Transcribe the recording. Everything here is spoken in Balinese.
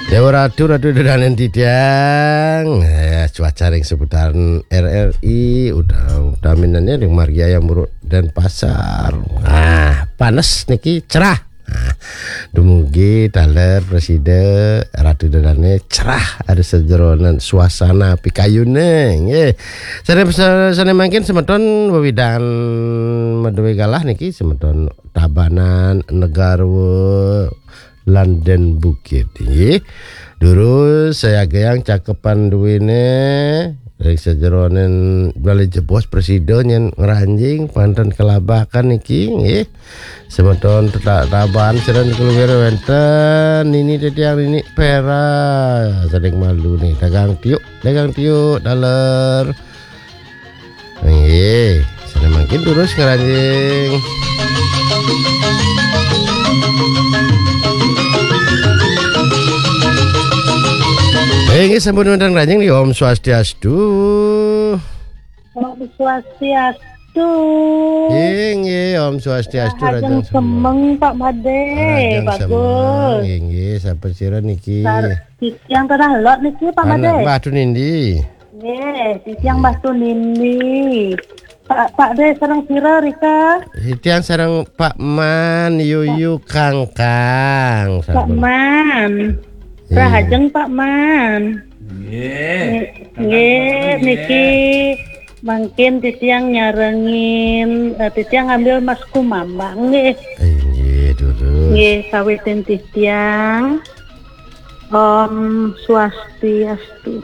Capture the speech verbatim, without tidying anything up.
Dewa Ratu, Ratu Ida Dané titiang. Ya, cuaca ring seputaran R R I udah utaminan ya ring margi Ayam Buruk Denpasar. Nah, panes niki cerah. Nah, dumugi taler prasida Ratu Ida Dané cerah ada sajeroning suasana pikayuné nggih. Sané, sané mangkin semeton wewidan madué galah niki semeton Tabanan, Negara, lan Dén Bukit nggih. Durus sayagayang cakepan duéné ring sajeroning Balé Jebos prasida nyén ngranjing panten kalabakan niki nggih. Semeton tetap Taban sira keluar wénten Nini Titiang, Nini Pera, saking malu nih dagang tiuk, dagang tiuk daler. Nggih, sané mangkin durus ngranjing. Nggih, sampun wénten ngranjing nggih. Om Swastiastu. Om Swastiastu. Nggih, nggih, Om Swastiastu, Rahajeng Rahajeng Semeng. Semeng, Pak Madé. Rahajeng Bagus. Semeng, nggih, nggih, sampun sira niki? Sar-, titiang Tanah Lot niki, Pak Anak Madé. Mbah Tunindi. Nggih, titiang Mbah Tunindi. Pak, Pak Dé sareng sira, Rika? Titiang sareng Pak Man, Yuyu, Kangkang. Pak sampun. Man. Iya. Rahajeng, Pak Man. Nggih. Nggih, nggih, niki mangkin titiang nyarengin, eh, titiang ngambil Mas Kumambang, nggih. Eh, nggih, dulu. Nggih, sawitin titiang. Om Swastiastu.